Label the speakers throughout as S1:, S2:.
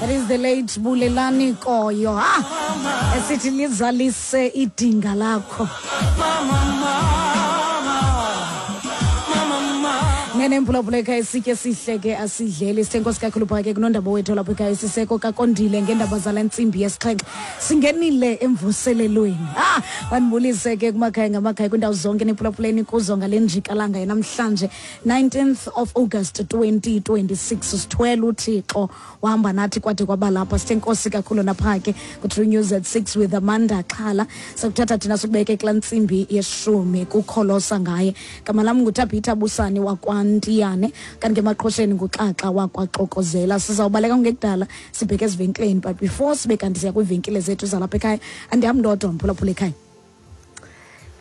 S1: That is the late Bulelani Koyo. Ah, esithi lizalise idinga lakho. Nene mphulaphula ekhaya, isitye sihle ke asidleli. Sithe nkosi kakhulu phaa ke kunondaba wethu lapho ekhaya, siseko kakondile ngeendaba zala ntsimbi yesixhenxe. Singenile emvuselelweni. Ah, bandibulise ke kumakhaya ngamakhaya, kwiindawo zonke niphulaphuleni kuzo ngale njikalanga yanamhlanje, 19th of August 2026. Sithwele uThixo, wahamba nathi kwade kwaba lapha. Sithe nkosi kakhulu napha ke ku-True News at 6 with Amanda Xhala. Sakuthatha thina sikubeke kulaa ntsimbi yeshumi kukholosa ngaye. Gama lam nguTabhitha Busani wakwaNtiyane, kanti ke emaqhosheni nguXaxa wakwaXokozela. Sizawubaleka kungekudala sibheke ezivenkileni, but before sibe kanti siya kwiivenkile zethu zalapha ekhaya, andihambi ndodwa, mphulaphula ekhaya.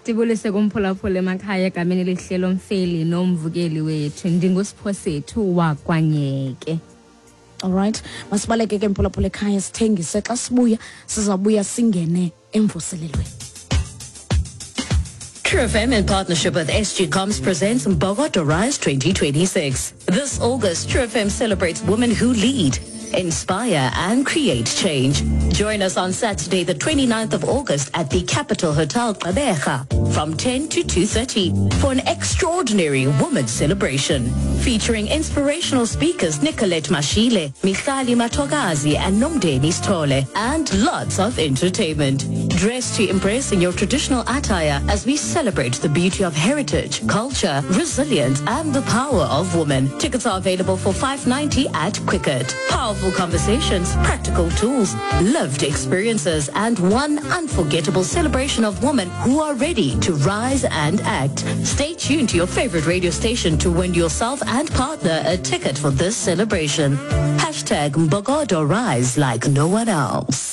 S2: Ndibulise kumphulaphula emakhaya egameni elihle lomfeli nomvukeli wethu. Ndingusiphosethu wakwanyeke.
S1: Alright, masibaleke ke mphulaphula ekhaya, sithengise. Xa sibuya sizawubuya singene emvuselelweni.
S3: True FM in partnership with SG Comms presents Mbokodo Rise 2026. This August, True FM celebrates women who lead, inspire and create change. Join us on Saturday, the 29th of August at the Capital Hotel Gqeberha from 10 to 2:30 for an extraordinary women's celebration featuring inspirational speakers Nicolette Mashile, Michali Matogazi and Nomdeni Stole, and lots of entertainment. Dress to impress in your traditional attire as we celebrate the beauty of heritage, culture, resilience and the power of women. Tickets are available for 590 at Quicket. Powerful conversations, practical tools, lived experiences and one unforgettable celebration of women who are ready to rise and act. Stay tuned to your favorite radio station to win yourself and partner a ticket for this celebration. Hashtag Mbogodo Rise like no one else.